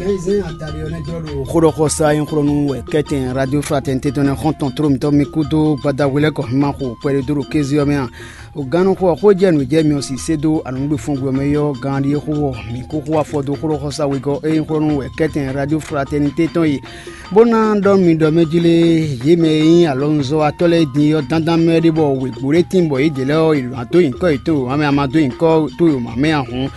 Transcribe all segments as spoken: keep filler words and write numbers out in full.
Xó ɖɔ xɔ sa nyí xlɔ́nú wɛ kɛ́tɛn Radio Fraternité tɔn nɛ́ xɔ́ntɔn tló mǐtɔn mi kúdó gbadahwe lɛ́ɛ kɔ ma xo kpɛɖé dó ɖo kéze ɔ́ mɛ a? O gannú xó ɔ́, xó jɛ nǔ jɛ mi ɔ́ si sé dó anɔ̌gbefɔ́ngbe ɔ́ mɛ yɔ́ gán ɖíe xó ɔ́, mǐ kó xó afɔ dó xó ɖɔ xɔ sa wegɔ́ e nyí xlɔ́nú wɛ kɛ́tɛn Radio Fraternité tɔn e, bó ná ɖɔ nú mi ɖɔ mɛ jí lé, yě mɛ e nyí alɔnuzɔ́watɔ́ lɛ́ɛ din ɔ́, dandan mɛ ɖé bɔ wěgbó ɖé tíin bɔ yědɛɛ lɛ́ɛ ɔ́, è nǎ dó nyǐkɔ yětɔn wěma mɛ, a ma dó nyǐkɔ towe wěma mɛ ǎ hǔn,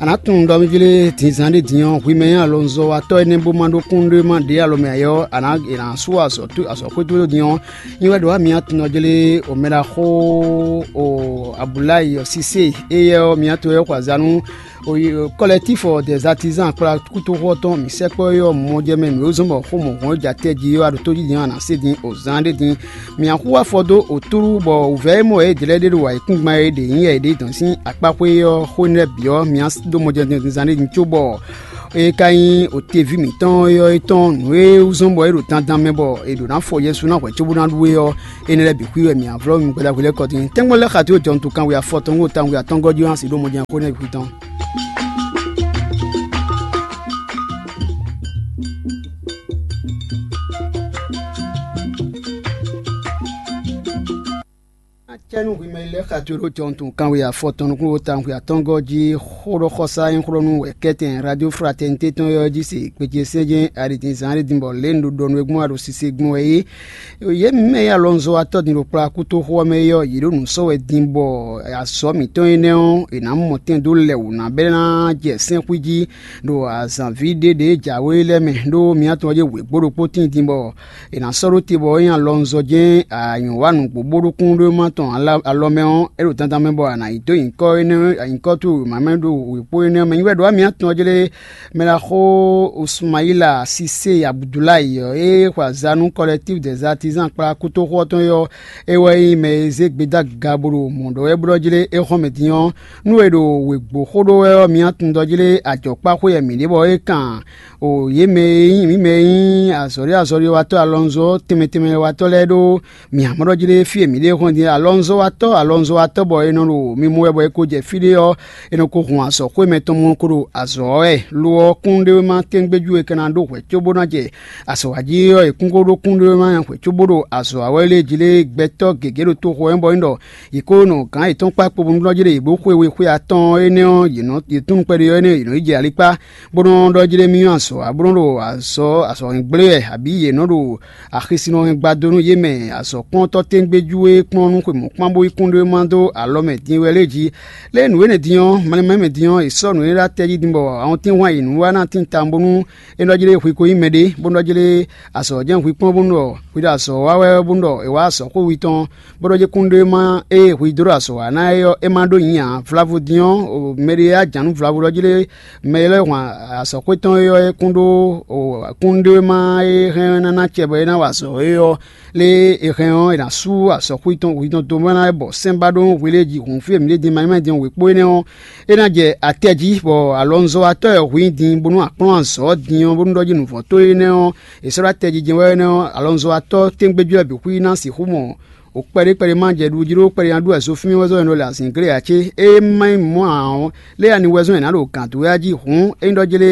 a nǎ tunwun ɖɔ mɛ jí lé, dinzán ɖé din ɔ́, hwi mɛ e nyí alɔnuzɔ́watɔ́ énɛ́ bó ma ɖó kúnɖéma ɖě alɔ mɛ ǎ é ɔ́, a nǎ è nǎ sú azɔ̌ azɔ̌xwé towe din ɔ́, nyi wɛ ɖo wá mi atɔn ɔ́ jlé, o mɛ ɖaxó o Abulayi ɔ́ Sise éyɛ́ ɔ́, mi atɔn wɛ xɔ azǎn nú Kɔlɛtífu des artisans kplá kútóxɔ tɔn mǐ sɛkpɔ́ é ɔ́, mɔ jɛ mɛ nǔ e zɔ́n bɔ xó mɔ̌hun e jɛ atɛ jí ɔ́, a ɖo tójí din ɔ́, a nǎ se din o zán ɖé din. Mǐ axú afɔ dó otúɖú bɔ wǔvɛ́ e mɔ yě dlɛ́ ɖé ɖo ayǐkúngban e ɖě nyí yɛ yě ɖe dɔn sín akpáxwé ɔ́ xó énɛ́ lɛ́ɛ bǐ ɔ́, mǐ dó mɔ jɛ din zán ɖé din cóbɔ é ka nyí oteví mǐtɔn ɔ́ é tɔn nǔ e wú zɔ́n bɔ é ɖo dandan mɛ bɔ è ɖǒ ná fɔ Yɛsu ná hwɛ̌ cóbó ná ɖu é ɔ́, énɛ́ lɛ́ɛ bǐ xwí wɛ mǐ á vlɔ́ mi gbɛɖaxwe lɛ́ɛ kɔ din. Tɛ́ngbɔ́ lɛ́ɛ xatíwǒ jɔnutun kanwe afɔtɔn atɔngɔ́ jí wá si ɖó mɔjɛ́nxó nɛ́ bǐ xwí tɔn. Acɛ́nú hwimɛ lɛ́ɛ xa towe ɖó jɔntun kanwe afɔtɔn nukúnnú tawun xwe atɔngɔ́ jí xó ɖɔ xɔsá nyí xlɔ́nú wɛ kɛ́tɛn Radio Fraternité tɔn ɔ́ jí se gbéjé sɛ́n jɛ́n aɖǐdínzán aɖídín bɔ lě un ɖo ɖɔ nú we gbɔn a ɖo sise gbɔn wɛ é. Yě mɛ e alɔnzɔ́watɔ́ din ɖo kplá kútóxó ɔ́ mɛ é ɔ́, yě ɖo nǔ sɔ́ wɛ din bɔ azɔ̌ mǐtɔn énɛ́ ɔ́, è nǎ mɔ tɛn dó lɛ wǔ ná bɛ́ ná jɛ sɛ́nxwí jí ɖo azǎnví ɖé ɖě jǎwe lɛ́ɛ mɛ, ɖó mǐ atɔn ɔ́ jɛ wěgbó ɖokpó tíin din bɔ è nǎ sɔ́ ɖó te bɔ é nyí alɔnzɔ́ jɛ́n anyǔ wa nǔgbó bó ɖó kúnɖéwúma tɔn alɔ mɛ ɔ́, é ɖo dandan mɛ bɔ a nǎ yi dó nyǐkɔ énɛ́ nyǐkɔ towe wěma mɛ ɖo wěkpó énɛ́ mɛ. Nyí wɛ ɖo wá mǐ atɔn ɔ́ jlé mɛ ɖaxó Usmayila Sise Abudulayi ɔ́, e xwe aza nú Collectif des Artisans kplá kútóxó ɔ́ tɔn é ɔ́, é wɛ nyí mɛ e zé gbedagaga bó ɖo mɔ̌ ɖɔ wɛ bó ɖɔ jlé é xɔ́n mɛ din ɔ́, nú è ɖo wěgbó xó ɖó wɛ ɔ́, mǐ atɔn ɖɔ jlé ajɔ̌kpáxwé wɛ mǐ ɖe bɔ é kan o yě mɛ e nyí mǐ mɛ e nyí azɔ̌ɖé azɔ̌ɖéwatɔ́ alɔnzɔ́ tɛnmɛ tɛnmɛ watɔ́ lɛ́ɛ ɖó mǐ amɔ̌ ɖɔ jlé fí e mǐ ɖe hɔn din alɔnzɔ́watɔ́ alɔnzɔ́watɔ́ bɔ è nɔ ɖo mi mɔ wɛ bɔ è ko jɛ fí ɖé ɔ́, è nɔ ko hun azɔ̌xwé mɛtɔn mɔ ko ɖo azɔ̌ ɔ́ wɛ. Lo ɔ́, kúnɖéwéma tɛ́ngbéjú e ka ná ɖó hwɛ̌ cóbó ná jɛ azɔ̌ wa jí é ɔ́, è kún ko ɖó kúnɖéwéma hwɛ̌ cóbó ɖo azɔ̌ wa wɛ lé jí lé gbɛtɔ́ gěgé ɖo toxo ɔ́ bɔ é ɖɔ yě ko nɔ gǎn yětɔn kpá kpo bónú ɖɔ jí ɖe yě bló xwe we xwe atɔ́ɔ́n énɛ́ ɔ́, yě nɔ yě tunwun kpɛɖé ɔ́ énɛ́ yě nɔ yi jɛ ali kpá, bó nɔ́ ɖɔ jí ɖé mì nyɔ́ azɔ̌ ǎ, bó nɔ́ ɖo azɔ̌ azɔ̌ hɛn gblé wɛ, abǐ yě nɔ́ ɖo axi sin nɔ hɛn gbadó nú yě mɛ azɔ̌kplɔ́ntɔ́ tɛ́ngbéjú e kplɔ́n nú xwe mɔ̌kpán bó yí kúnɖéwéma dó alɔ mɛ din wɛ lɛ́ɛ jí. Lě e nǔ énɛ́ din ɔ́, malɛ́nmɛ din ɔ́, è sɔ́ nǔ énɛ́ ɖó atɛ jí din bɔ awɔntín hwan yě nǔ wá ná tín tawun bónú é nɔ jí lé hwi ko nyí mɛɖé, bó nɔ jí lé azɔ̌ jɛ́n hwi kplɔ́n bónú ɖɔ hwi ɖo azɔ̌ wa wɛ bónú ɖɔ è wá azɔ̌ xó hwi tɔn, bó nɔ jí kúnɖéwéma e hwi dó ɖo azɔ̌ wa ná é ɔ́, é ma ɖó nyi ǎ. Vlavo din ɔ́, mɛɖé e ajǎn nú vlavo ɖɔ jí lé mɛ e lɛ́ hwan azɔ̌xwé tɔn é ɔ́, é kún ɖó kúnɖéwéma e hɛn ná ná acɛ bɔ é ná wa azɔ̌ é ɔ́, lé è hɛn ɔ́, è nǎ sú azɔ̌xwé tɔn hwi tɔn dó mɔ ná bɔ sɛ́n ba ɖó hwi lée jí hǔn fí e mǐ ɖe din ma nyí mɛ din wěkpó énɛ́ ɔ́, é ná jɛ atɛ jí, bɔ alɔnzɔ́watɔ́ e hwǐ din bónú a kplɔ́n azɔ̌ din ɔ́ bónú ɖɔ jí nǔvɔ́tɔ́ énɛ́ ɔ́, è sɔ́ ɖó atɛ jí jɛ́n wɛ énɛ́ ɔ́, alɔnzɔ́watɔ́ tɛ́ngbéjú lɛ́ɛ bǐ xwí ná sixú mɔ o kpɛɖé kpɛɖé ma jɛ ɖu jí ɖó kpɛɖé ná ɖu wɛ zo fí mì wɛ zɔ́ ɛnɔ le azǐnglé ǎ cé? Ée má nyí mɔ̌ ǎ ɔ́, lé ani wɛ zɔ́n è nǎ ɖo gǎn dó wɛ jí hǔn é nyí ɖɔ jlé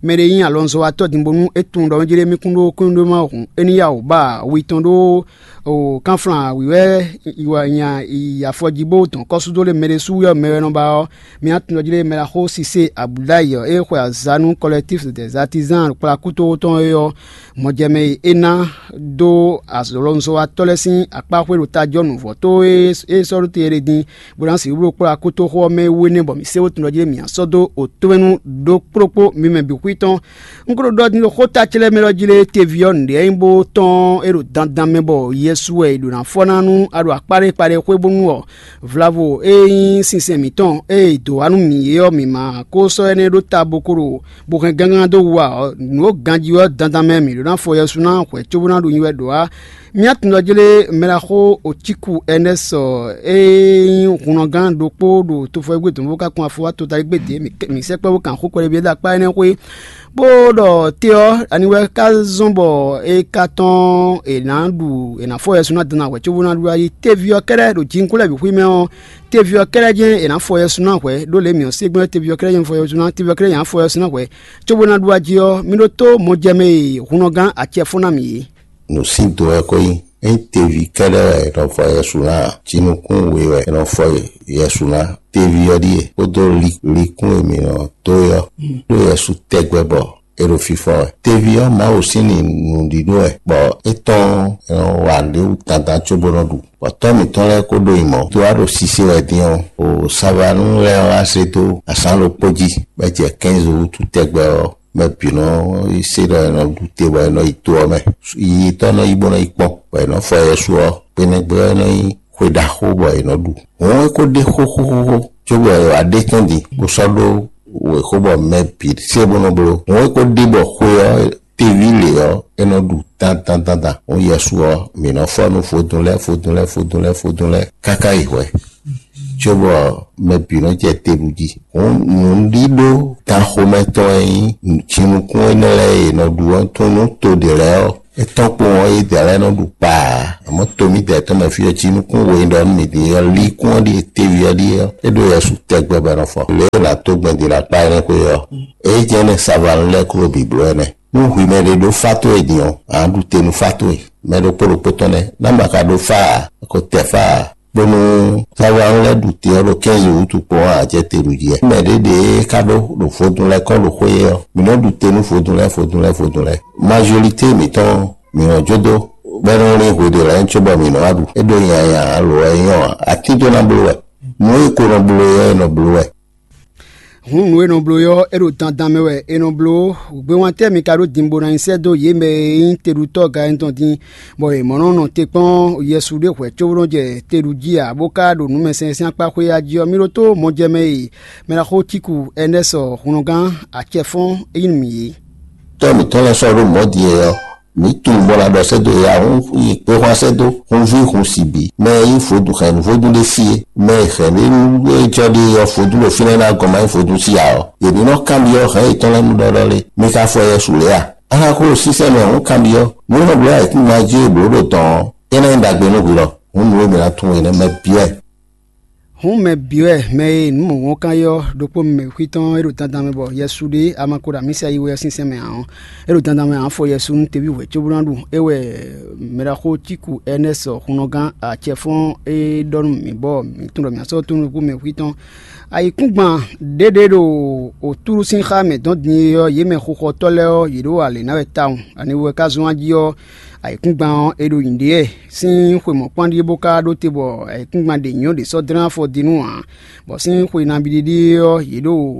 mɛɖé nyí alɔnzɔ́watɔ́ din bónú é tunwun ɖɔ mɛ jlé mì kún ɖó kúnɖóma hǔn é ní yá wǔ ba wi tɔn ɖó o kánflán wǐwɛ́ nya yi afɔ jí bó dɔn kɔ́súdó lé mɛɖé sú wɛ mɛ wɛ nɔ ba ɔ́, mǐ á tunwun ɖɔ jlé mɛ ɖaxó Sisée Abudulayi ɔ́, é xwe azǎn nú Collectif des Artisans kplá kútóxó tɔn é ɔ́, mɔjɛmɛ e é ná dó alɔnzɔ́watɔ́ lɛ́ɛ sín akpáxwé ɖo tajɔ́ nǔvɔ́tó e é sɔ́ ɖó te é ɖe din, bó ná sixú bló kplɔ́ akútoxó ɔ́ mɛ wú énɛ́ bɔ mǐ se wótun ɖɔ jí mǐ ná sɔ́ dó otɔ́mɛnu ɖó kplókpó mi mɛ bǐ xwí tɔn. Un ko ɖo ɖɔ din ɖo xó ta ce lɛ́ɛ mɛ ɖɔ jí lé teví ɔ́ nǔɖé nyí bó tɔn é ɖo dandan mɛ bɔ Yɛsu wɛ è ɖǒ ná fɔ ná nú a ɖo akpáɖé kpaɖé xwé bónú ɔ́, vlavo e nyí sinsɛn mǐtɔn e è dǒ wá nú mǐ é ɔ́, mǐ ma ko sɔ́ énɛ́ ɖó ta bó ko ɖo bó hɛn gángan dó wu ǎ ɔ́, nǔ e ganjí ɔ́ dandan mɛ mǐ ɖó ná fɔ Yɛsu ná hwɛ̌ cóbó ná ɖo nyi wɛ ɖǒ ǎ. Mía tun ɔ́ jlé mɛɖaxó Ocíku Ɛnɛ́sɔ e nyí hunnɔgán ɖokpó ɖo tofɔwɛ́gbé dɔ̌nvú ká kún afɔ wá totaligbé dě mǐ sɛkpɔ́ bó kan xó kpɛɖéví ɖo akpá énɛ́ xwé, bó ɖɔ te ɔ́, ani wɛ ka zɔ́n bɔ é ka tɔ́n è nǎ ɖu è nǎ fɔ Yɛsu ná dɔn ná hwɛ̌ cóbó ná ɖu ayí? Teví ɔ́ kɛ́ɖɛ́ ɖo jinkún lɛ́ɛ bǐ xwí mɛ ɔ́, Teví ɔ́ kɛ́ɖɛ́ jɛ́n è nǎ fɔ yɛsu ná hwɛ̌, ɖó lě mǐ ɔ́, ségbɛ́ teví ɔ́ kɛ́ɖɛ́ jɛ́n fɔ yɛsu ná, teví ɔ́ kɛ́ɖɛ́ jɛ́n fɔ yɛsu ná hwɛ̌, cóbó ná ɖu ají ɔ́, mì ɖótó mɔjɛmɛ e hunnɔgán acɛ fɔ́n ná mì é. Nǔ sín do wɛ ko nyí. Ényí teví kɛ́ɖɛ́ wɛ è nɔ fɔ yɛsu ná ǎ, jinukún we wɛ è nɔ fɔ yɛsu ná. Teví ɔ́ ɖíe kpódó likún e mǐ nɔ dó é ɔ́, ɖó yɛsu tɛgbɛ bɔ è ɖo fífɔ́n wɛ. Teví ɔ́, Mawu sín nǔɖíɖó wɛ, bɔ é tɔ́n è nɔ wa nǔɖé wú dandan cóbó nɔ ɖu. Bɔ tɔ́ mǐtɔn lɛ́ɛ kó ɖó nyǐmɔ dó wá ɖo sise wɛ din ɔ́, o savanu lɛ́ɛ wá se dó azǎn ɖokpó jí, bɔ é jɛ kɛ́nzi wútu tɛgbɛ ɔ́, mɛ bǐ nɔ yi se ɖɔ è nɔ ɖu te bɔ è nɔ yi to ɔ́ mɛ. Yiyitɔ́ nɔ yi bó nɔ yi kpɔ́n, bɔ è nɔ fɔ yɛsu ɔ́, gbenɛgbɛ ɔ́ nɔ nyí xwe ɖaxó bɔ è nɔ ɖu. Hǔn é ko ɖe xóxóxóxó, cóbɔ è wǎ ɖe tɔ́n din, bó sɔ́ ɖó wěxó bɔ mɛ bǐ se bó nɔ bló. Hǔn é ko ɖe bɔ xwe ɔ́ teví lě ɔ́, é nɔ ɖu dandandandan. Hǔn yɛsu ɔ́, mǐ nɔ fɔ nú vodún lɛ́ɛ, vodún lɛ́ɛ, vodún lɛ́ɛ, vodún lɛ́ɛ, káká yi hwɛ̌. Cóbɔ mɛ bǐ nɔ jɛ te ɖu jí. Hǔn nǔɖíɖó ganxomɛ tɔn e nyí jinukún énɛ́ lɛ́ɛ e è nɔ ɖu ɔ́, tún nú to ɖě lɛ́ɛ ɔ́, é tɔ́n kpowun ɔ́, yědɛɛ lɛ́ɛ nɔ ɖu kpaa. Àmọ́ to mǐdɛɛ tɔn mɛ fí ɔ́, jinukún we ɖɔ nú mǐ ɖíe ɔ́, líkún ɔ́ ɖíe, teví ɔ́ ɖíe ɔ́, é ɖo yɛsu tɛgbɛ bɔ è nɔ fɔ. Lě e è nǎ dó gbɛn din ɖo akpá énɛ́ xwé ɔ́, é jɛ́n nɛ́ savanu lɛ́ɛ klo bǐ bló ɛnɛ. Nú hwi mɛ ɖé ɖó fá towe din ɔ́, a nǎ ɖu te nú fá towe. Mɛ ɖokpó ɖokpó tɔn nɛ́, ná ma ka ɖó fá ǎ, a ko tɛ fá ǎ. Bónú Sawlanu lɛ́ɛ ɖu te ɔ́ ɖo kɛ́nzi wútu kpɔ́n ǎ, jɛ te ɖu jí wɛ. Mɛ ɖěɖě e ka ɖó ɖo vodún lɛ́ɛ kɔn ɖo xwé ɔ́, mǐ nɔ ɖu te nú vodún lɛ́ɛ, vodún lɛ́ɛ, vodún lɛ́ɛ. Mazolité mǐtɔn ɔ́, mǐ nɔ jó dó, bɔ é nɔ lín hwe ɖě lɛ́ɛ cóbɔ mǐ nɔ wá ɖu. É ɖó nyanya ǎ, lo wɛ é nyɔ́ ǎ. Atín tó ná bló wɛ. Nǔ e ko nɔ bló é ɔ́, è nɔ bló wɛ. Hǔn nǔ e nɔ bló é ɔ́, é ɖo dandan mɛ wɛ è nɔ bló. Gbewantɛ́ mi ka ɖó din bó ná nyi sɛ́ dó yě mɛ e nyí teɖutɔ́ Galilée tɔn din, bɔ yě mɔ nɔ nɔ te kpɔ́n Yɛsu ɖé hwɛ̌ cóbó nɔ jɛ te ɖu jí ǎ, bó ka ɖo nǔmɛsɛnsɛn akpá xwé ya jí ɔ́, mi ɖótó mɔjɛmɛ e mɛ ɖaxó Tíku Ɛnɛ́sɔ hunnɔgán acɛfɔ́n é nyí nú mì é. Tɔ́ mǐtɔn lɛ́ɛ sɔ́ ɖó mɔ̌ din é ɔ́, mǐ tunwun bɔ la ɖɔ sɛ́ dó ya hún yi kpé xwán sɛ́ dó, hun ví hun si bǐ. Mɛ e nyí vodún hɛ̌nnu vodún ɖé sí é, mɛ e hɛ̌nnu e jɔ ɖe ɔ́ vodún ɖo fínɛ́ ná gɔn ma nyí vodún sí ǎ ɔ́, yě ní nɔ kanbyɔ́ hɛ̌n yětɔn lɛ́ɛ nú ɖɔɖɔ lé. Mi ka fɔ yɛ su lě a? Axaxó ɖo sísɛ́ mɛ hǔn kanbyɔ́, nǔ e nɔ bló ayǐkúngban jí e blǒ ɖo dɔ̌n ɔ́, é ná nyí ɖagbe nú hwi lɔ. Hǔn nǔ e mǐ ná tunwun é nɛ́ mɛ byɔ́ ɛ. Hǔn mɛ bǐ wɛ mɛ e nǔ mɔ̌hunkɔ́n yɔ́ ɖokpó mɛ xwítɔ́n e ɖo dandan mɛ bɔ Yɛsu ɖe ama ko ɖo amǐsa yi wɛ ɔ́ sínsɛ́n mɛ ǎ ɔ́, é ɖo dandan mɛ ǎ fɔ Yɛsu nú teví wɛ̌ cóbó ná ɖu. É wɛ mɛɖaxó Tíku Ɛnɛ́sɔ hunnɔgán acɛfɔ́n e ɖɔ nú mǐ bɔ mǐ tunwun ɖɔ mǐ ná sɔ́ tunwun nukún mɛ xwítɔ́n. Ayǐkúngban ɖěɖě ɖo wǒtúɖú sín xá mɛ dɔn din é ɔ́, yě mɛ xuxɔtɔ́ lɛ́ɛ ɔ́, yě ɖo alě ná wɛ tawun. Ani wɛ ka zɔ́n ají ɔ́, ayǐkúngban ɔ́, è ɖo nyǐɖée wɛ sín xwe mɔ̌kpán ɖíe bó ka ɖó te bɔ ayǐkúngban ɖě nyɔ́ ɖě sɔ́ dlɛ́n afɔ din nú ǎ. Bɔ sín xwe nabí ɖíɖí ɔ́, yě ɖo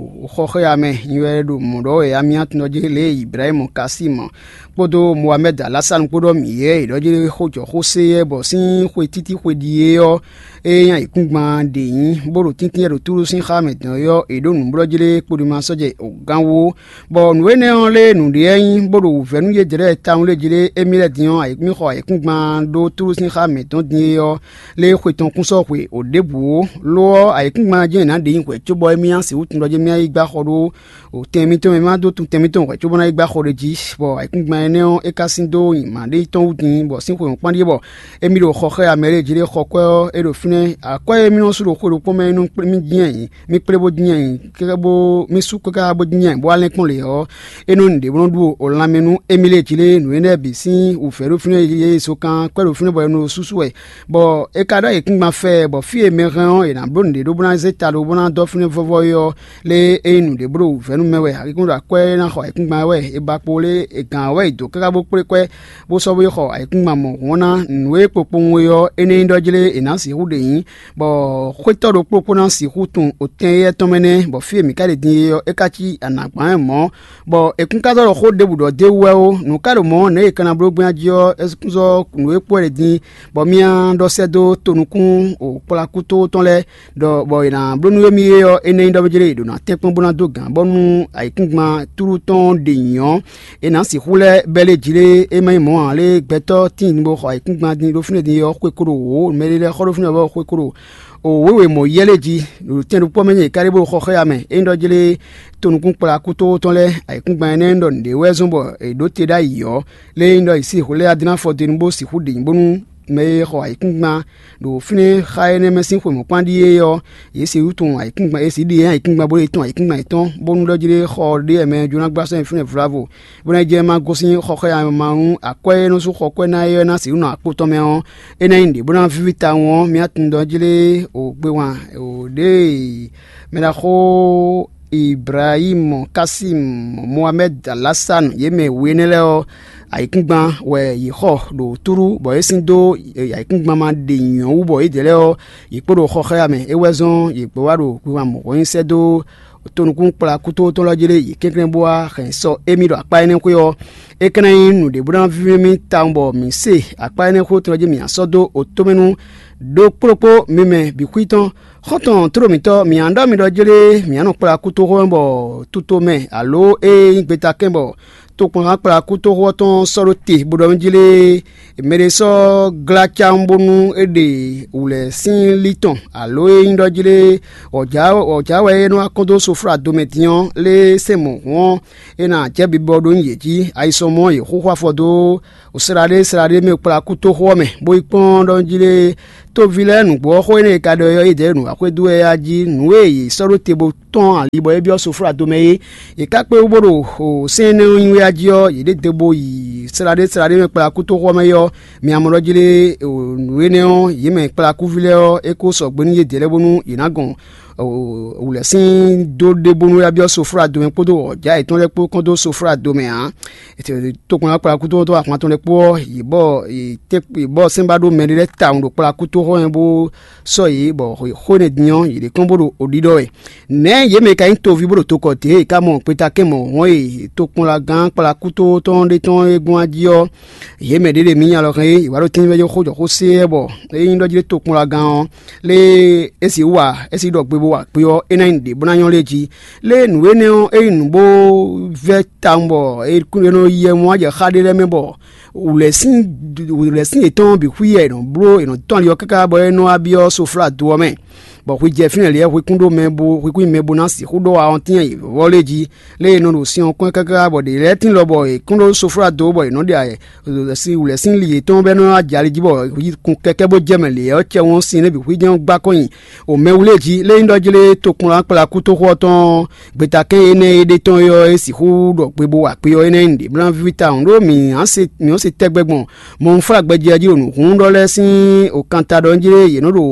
xɔ xá ya mɛ, nyi wɛ ɖo mɔ̌ ɖɔ wɛ amyá tɔn jí lě e Ibrahímu ka sí mɔ̌ kpódó Mohamɛ́d Alásanu kpó ɖɔ mǐ yɛ è ɖɔ jí xó jɔ xó sé yɛ, bɔ sín xwe títí xwe ɖíe ɔ́, ée nyí ayǐkúngban ɖě nyí, bó ɖo tíntín ɖo Túlu sín xá mɛ dɔn é ɔ́, è ɖǒ nǔblɔ́ jí lé kpoduma sɔ́ jɛ gán wú. Bɔ nǔ énɛ́ ɔ́ lé nǔɖé wɛ nyí, bó ɖo wǔvɛ́ nú yědɛɛ lɛ́ɛ tawun lé jí lé, émí lɛ́ɛ din ɔ́, ayǐkúngban ɖó Túlu sín xá mǐtɔn din é ɔ́, lé xwe tɔn kún sɔ́ hwe o ɖěbǔ ó. Lo ɔ́, ayǐkúngban jɛ́n è nǎ ɖe nyi hwɛ̌ cóbɔ émí ná sixú tunwun ɖɔ jí émí ná yi gbá xɔ ɖó o tɛn mitɔn mɛ, má dó tun tɛn mitɔn hwɛ̌ cóbó ná yi gbá xɔ ɖé jí, bɔ ayǐkúngban énɛ́ ɔ́, é ka sín dó nyǐma ɖé tɔn wú din, bɔ sín xwe mɔ̌kpán ɖíe bɔ émí ɖo xɔ xá ya mɛ lɛ́ɛ jí lé xɔ kwɛ́ ɔ́, é ɖo fínɛ́. Akwɛ́ e mí nɔ sú ɖo xwe ɖokpó mɛ é nɔ kplé mì dín ayǐ, mì kplé bó dín ayǐ, káká bó mì sú káká bó dín ayǐ, bó wá lɛ́n kpɔ́n lě ɔ́, é nɔ nyi ɖě bó nɔ ɖu o lanmɛ nú émí lɛ́ɛ jí lé. Nǔ énɛ́ bǐ sín wǔvɛ́ ɖo fínɛ́, yě so kan kwɛ́ ɖo fínɛ́ bɔ è nɔ sú wɛ, bɔ é ka ɖó ayǐkúngban fɛ, bɔ fí e mɛ hɛn ɔ́, è nǎ bló nǔɖé ɖó bó ná zé ta ɖó bó ná dɔ́ fínɛ́ vɔ́vɔ́ é ɔ́, lé é nyí nǔɖé bló wǔvɛ́ nú mɛ wɛ, ayǐkúngban ɖo akwɛ́ ná xɔ ayǐkúngban wɛ, è ba kpo lé è gǎn wɛ è dǒ káká bó kplé kwɛ́, bó sɔ́ bó yi xɔ ayǐkúngban mɔ̌hun ɔ́ ná. Nǔ e kpokpowun é ɔ́, é nɛ́ nyí ɖɔ jí lé è nǎ sixú ɖe nyǐ, bɔ xwétɔ́ ɖokpó ɖokpó ná sixú tunwun otɛn éyɛ́ tɔn mɛ nɛ́, bɔ fí e mǐ ka ɖe din é ɔ́, é ka cí anǎgbán wɛ mɔ̌, bɔ è kún ka zɔ́ ɖɔ xó ɖěbǔ ɖɔ d'é wú wɛ ó. Nǔ ka ɖo mɔ̌ nɛ̌ è ka ná bló gbɛ́nná jí ɔ́, é kún zɔ́ nǔ e kpó wɛ ɖe din, bɔ mì ná ɖɔ sɛ́ dó tonukún kplakútó tɔn lɛ́ɛ, ɖɔ bɔ è nǎ bló nú émí é ɔ́, énɛ́ nyí ɖɔ mɛ jlé è ɖǒ ná tɛ́nkpɔ́n bó ná dó gǎn, bɔnú ayǐkúngban tlú tɔn ɖe nyǐ ɔ́, è nǎ sixú lɛ́ bɛ́ lé jí lé, é má nyí mɔ̌ ǎ lé, gbɛtɔ́ tíin bó xɔ ayǐkúngban din ɖó fínɛ́ din é ɔ́, xwe kó ɖo wǒ, mɛɖé lɛ́ɛ xɔ ɖó fínɛ́ ɔ́ xwe kó ɖo wǒ wěwe mɔ̌ yɛ́ lé jí, ɖo tɛn ɖokpó mɛ nyí è ka ɖé bó xɔ xá ya mɛ. É nyí ɖɔ jlé tonukún kplakútó tɔn lɛ́ɛ, ayǐkúngban énɛ́ ɖɔ nǔɖé wɛ zɔ́n bɔ è ɖǒ te ɖ'ayǐ ɔ́, lé nyí ɖɔ è sí hwlɛ́ Adínáfɔ din bó sixú ɖe nyǐ bónú mɛ e xɔ ayǐkúngban ɖo fínɛ́ xá énɛ́ mɛ sín xwe mɔ̌kpán ɖíe ɔ́, yě sixú tunwun ayǐkúngban, yě sixú ɖe ayǐkúngban bó lɛ́ tunwun ayǐkúngban yětɔn, bónú ɖɔ jí lé xɔ ɖé wɛ mɛ jló ná gbla sɔ́ nyi fínɛ́ vlavo, bó ná jɛ ma gosín xɔxɔ́yama nú akwɛ́ e nɔ sú xɔ kwɛ́ ná é ɔ́ ná sixú nɔ akpó tɔn mɛ ɔ́, é ná nyí nǔɖé bó ná víví tawun ɔ́, mǐ tunwun ɖɔ jí lé o gbe wan o ɖě e mɛ ɖaxó Ibrahímu, Kasímu, Mohamɛ́d Alásanu, yě mɛ we énɛ́ lɛ́ɛ ɔ́, ayǐkúngban wɛ yě xɔ ɖo túɖú, bɔ é sín dó ayǐkúngban ma ɖe nyɔ̌ wú, bɔ yědɛɛ lɛ́ɛ ɔ́, yě kpo ɖo xɔ xá ya mɛ. É wɛ zɔ́n yě gbɔ wá ɖo wiwa mɔ̌hɔn nyi sɛ́ dó tonukún kplá kútótɔ́ lɔ jí lé yě kɛnklɛ́n bó wá hɛn sɔ́ émí ɖo akpá énɛ́ xwé ɔ́, é ka ná nyí nǔɖé bó ná víví mì tawun bɔ mǐ se akpá énɛ́ xwé tɔn jí mǐ ná sɔ́ dó otomɛ nú ɖokpóɖokpó mi mɛ bǐ xwí tɔn. Xɔ́ntɔn tló mǐtɔn, mǐ ná ɖɔ mi ɖɔ jlé mǐ ná nɔ kplá kútóxó mɛ bɔ tutomɛ alo ée nyí gbetakɛ́n bɔ tokpɔnhán kplá kútóxó ɔ́ tɔn sɔ́ ɖó te bó ɖɔ mì jlé mɛ ɖé sɔ́ glá cawun bónú é ɖe wǔlɛ́ sín lí tɔn alo é nyí ɖɔ jlé wɔ̌jǎ wɛ é nɔ wá kɔn dó soflá domɛ din ɔ́, lé sɛn mɔ̌hun ɔ́, é ná jɛ bibɔ ɖó nyi yě jí. Ayisɔmɔ ɔ́, yě xúxú afɔ dó sláɖé sláɖé mɛ kplá kútóxó ɔ́ mɛ, bó yi kpɔ́n ɖɔ jí lé tóví lɛ́ɛ nǔgbó ɔ́, xó énɛ́ e ka ɖɔ é ɔ́, yědɛɛ ɖo nǔ wá xwedó wɛ yá jí. Nǔ e yě sɔ́ ɖó te bó tɔ́n ali bɔ é byɔ́ soflá domɛ é, yě ká kpé wú bó ɖo sɛ́n énɛ́ ɔ́ nyi wá jí ɔ́, yě ɖe degbo yi sláɖé sláɖé mɛ kplá kútóxó ɔ́ mɛ é ɔ́, mi amɔ ɖɔ jí lé nǔ énɛ́ ɔ́, yě mɛ kplá kúví lɛ́ɛ ɔ́, é kó sɔgbe nú yědɛɛ lɛ́ɛ bónú yě ná gɔn wǔlɛ́ sín dó ɖe bónú wá byɔ́ soflá domɛ kpódó wɔ̌já yětɔn lɛ́ɛ kpó kɔn dó soflá domɛ ǎ. Tokpɔnlá kplá kútóxó ahwan tɔn lɛ́ɛ kpó ɔ́, yě bɔ yě bɔ sɛ́n ba ɖó mɛɖé lɛ́ɛ tawun ɖo kplá kútóxó ɔ́ mɛ bó sɔ́ yě, bɔ xó énɛ́ din ɔ́, yě ɖe kɔn bó ɖo oɖiɖɔ wɛ. Nɛ̌ yě mɛ ka nyí toví bó ɖo tokɔ dě e ka mɔ gbeta kɛn mɔ̌ hɔn e tokpɔnlagán kplá kútóxó tɔn ɖé tɔn e gbɔn jí ɔ́, yě mɛ ɖě ɖe mǐ nya lɔ hɛn é, yě wá ɖo tínmɛ jó xó jɔ xó sé wɛ bɔ é nyí ɖɔ jí ɖé tokpɔnlagán ɔ́, lé é sixú wa é sixú ɖɔ gbe bó wa kpé ɔ́, é ná nyí nǔɖé bó ná nyɔ́ lé jí. Lé nǔ énɛ́ ɔ́, é nyí nǔ bó vɛ́ tawun bɔ é nɔ yɛ mɔ ajɛ xá ɖé lɛ́ɛ mɛ bɔ wǔlɛ́sin wǔlɛ́sin yětɔn bǐ xwí yɛ è nɔ bló è nɔ tɔ́n ali ɔ́ káká bɔ é nɔ wá byɔ́ soflá do ɔ́ mɛ, bɔ hwi jɛ fínɛ́ lě wɛ hwi kún ɖó mɛ bo hwi kún nyí mɛ bo ná sixú ɖó awɔntín e vɔ́ lé jí, lě e è nɔ ɖo sin ɔ́ kɔn káká bɔ ɖě lɛ́ɛ tín lɔ bɔ è kún ɖó soflá do bɔ è nɔ ɖe ayɛ wǔlɛ́sin li yětɔn bɔ é nɔ wá jɛ ali jí bɔ hwi kun kɛkɛ́ bó jɛ mɛ lě ɔ́ cɛ wɔn sin nɛ́ bǐ hwi jɛ́n gbá kɔn nyi o mɛ wlé jí, lé nyí ɖɔ jlé tokplɔ́n akpla kútóxó ɔ́ tɔn ɔ́, gbeta kɛ́n énɛ́ e ɖe tɔn é ɔ́, é sixú ɖɔ gbe bó wa kpé ɔ́, é ná nyí nǔɖé bó ná víví tawun, ɖó mǐ ǎ se mǐ ɔ́ se tɛgbɛ gbɔn mɔnflágbɛjí ɔ́ jí ɖo nǔhún ɖɔ lɛ́ɛ sín òkanta ɖɔ jí lé yě nɔ ɖo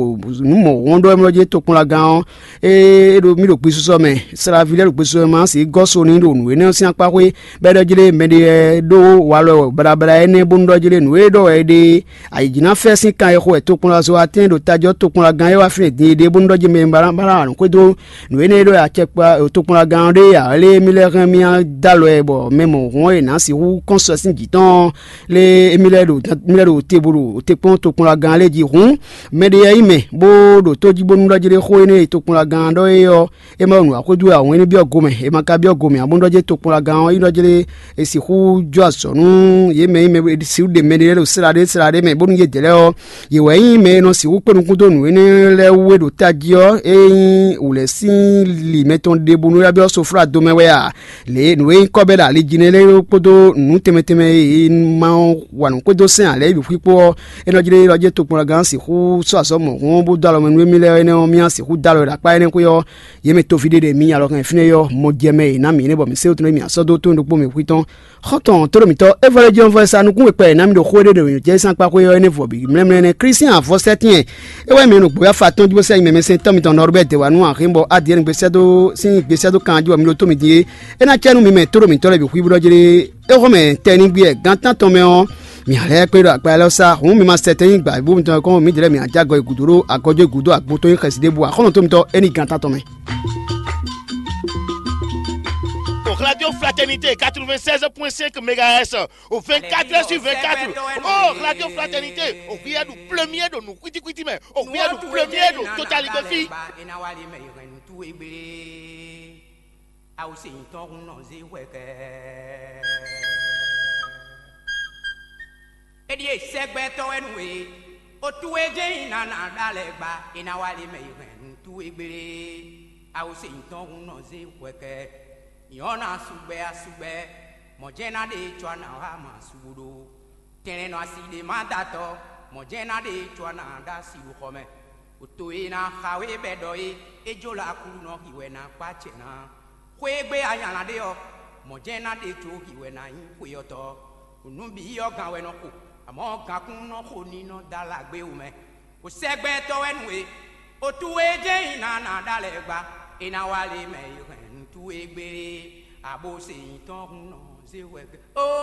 nǔ mɔ̌ wɔn ɖɔ mɛ jí tokplɔ́nlagán ɔ́, é ɖo mì ɖo gbesisɔ mɛ, Slavi lɛ́ɛ ɖo gbesisɔ mɛ ma sixú gɔ́ so n'i ɖo nǔ énɛ́ ɔ́ sín akpá xwé, bɔ é ɖɔ jí lé mɛɖé ɖó walɔ baɖabaɖa énɛ́ bónú ɖɔ jí lé nǔ e ɖɔ wɛ é ɖe ayǐjínafɛ́ sín kan e xo wɛ tokpɔnlazo atɛ́n ɖo tají ɔ́ tokpɔnlagán é wá fínɛ́ din é ɖe bónú ɖɔ jí mɛ ba ná xwedó nǔ énɛ́ e ɖɔ wɛ acɛkpa tokpɔnlagán ɔ́ ɖe ǎ lé mì lɛ́ hɛn mì dó alɔ ɛ bɔ mɛ mɔ̌hun e nǎ sixú kɔn sɔ sín jǐ tɔn ɔ́, lé émí lɛ́ɛ ɖo émí lɛ́ɛ ɖo te bo ɖo te kpɔ́n tokpɔnlagán lɛ́ɛ jí hǔn, mɛɖé yɛ nyí mɛ bó ɖo tó jí bónú ɖɔ jí ɖé xó énɛ́ e tokpɔnlagán ɖɔ é ɔ́, é ma ɖo nǔ wa xwedó wɛ ǎ hǔn é ní byɔ́ gomɛ, è ma ka byɔ́ gomɛ ǎ bónú ɖɔ jí tokpɔnlagán ɔ́ é nɔ jlé è sixú jó azɔ̌ nú yě mɛ e mɛ sixú ɖe mɛɖé lɛ́ɛ ɖo sláɖé sláɖé mɛ bónú yě dɛ̌ lɛ́ɛ ɔ́, yě wɛ nyí mɛ e nɔ sixú kpé nukún dó nǔ énɛ́ lɛ́ɛ wú e ɖo tají ɔ́, é nyí wǔlɛ́ sín li mɛtɔn ɖěbǔ nú yá byɔ́ soflá do mɛ wɛ a? Lě e nǔ e nyí kɔ́ bɛ́ ɖo ali jí nɛ́ lɛ́ɛ kpódó nǔ tɛnmɛ tɛnmɛ e è ma wa nǔ xwedó sɛn ǎ lɛ́ɛ bǐ xwíxwó ɔ́, é nɔ jlé ɖɔ jɛ́n tokpɔnlagán sixú sɔ́ azɔ̌ mɔ̌hun ɔ́ bó dó alɔ mɛ nú émí lɛ́ɛ ɔ́, énɛ́ ɔ́, mì ná sixú dó alɔ ɖo akpá énɛ́ xwé ɔ́, yě mɛ toví ɖé ɖe mì alɔ hɛn fínɛ́ ɔ́, mɔ jɛ mɛ e è nǎ mǐ énɛ́ bɔ mǐ sé wú tɔn ɖé mì asɔ́ dó tó ɖokpó mɛ xwítɔn. Xɔ́ntɔn tó ɖo mǐtɔn, é vɔ lé jɔ́n vɔ e sa nukún wekpɛ e ná mi ɖo xó éɖée ɖo jɛ sín akpá xwé ɔ́, énɛ́ vɔ bǐ mlɛ́mlɛ́ nɛ́. Klísián avɔsɛ́tɛ́n é wɛ mi ɖo nǔgbó afa tɔn jí bó sɛ́ nyi mɛ mɛ sɛn tɔ́ mitɔn Nɔrubɛ́ dě wá nú axin bɔ Adiyɛ́ɛn gbesɛ́ dó sín gbesɛ́ dó kan jí bɔ mi ɖo tó mi din é. É ná cɛ nú mi mɛ tó ɖo mǐtɔn lɛ́ɛ bǐ xwíbú ɖɔ jlé é xɔ́mɛ tɛnigbe gán tán tɔn mɛ ɔ́, mǐ lɛ́ kpé ɖo akpa élɔ́ sá hǔn mi ma sɛ tɛn nyi gbǎ bú mitɔn kɔn mǐdɛɛ lɛ́ɛ mǐ ná jɛ agɔ e gǔdo ɖó agɔjɔ e gǔdo agbo tɔn nyi xɛsi ɖěbǔ ǎ. Xɔ́ntɔn tó mitɔn é ní gán tán tɔn mɛ. Au Radio Fraternité quatre-vingt-seize point cinq mégahertz, au vingt-quatre heures sur vingt-quatre. Oh, Radio Fraternité, au rien du premier de nous, quiti quiti, mais au rien du premier de Total Igbefi. Awusi ŋutɔ hun nɔ zi hwɛ kɛ. Eɖi esɛgbɛtɔ wɛ nu e, otu e jɛ nyi nana ɖa lɛ gba, e na wa le mɛ yi hɛn nu tu e gbele. Awusi ŋutɔ hun nɔ zi hwɛ kɛ. Nyɔna sugbɛ asugbɛ, mɔjɛna ɖe tsɔ na wa ma sugudo. Tɛnlɛ nɔ asi ɖe ma da tɔ. Mɔ̌ jɛ́n ná ɖe co a nǎ ɖó asi ɖo xɔ mɛ. Oto e ná xa we bɛ ɖɔ é, é jó la Aklúnɔ xi wɛ ná kpá acɛ ná. Xwé e gbé a nya lan ɖe ɔ́, mɔ̌ jɛ́n ná ɖe co xi wɛ ná nyí xweyɔ́tɔ́. Nǔ bǐ ɔ́ gan wɛ nɔ xo, amɔ̌ gankún nɔ xo ní nɔ dó ala gbé wú mɛ. Xo sɛgbɛtɔ́ wɛ nú we. Otu e jɛ́n nyi ná ná ɖó alɛ gba, é ná wá lě mɛ e hɛn nǔ towe gbé é, abo se nyǐtɔn hun nɔ zé hwɛ gbé.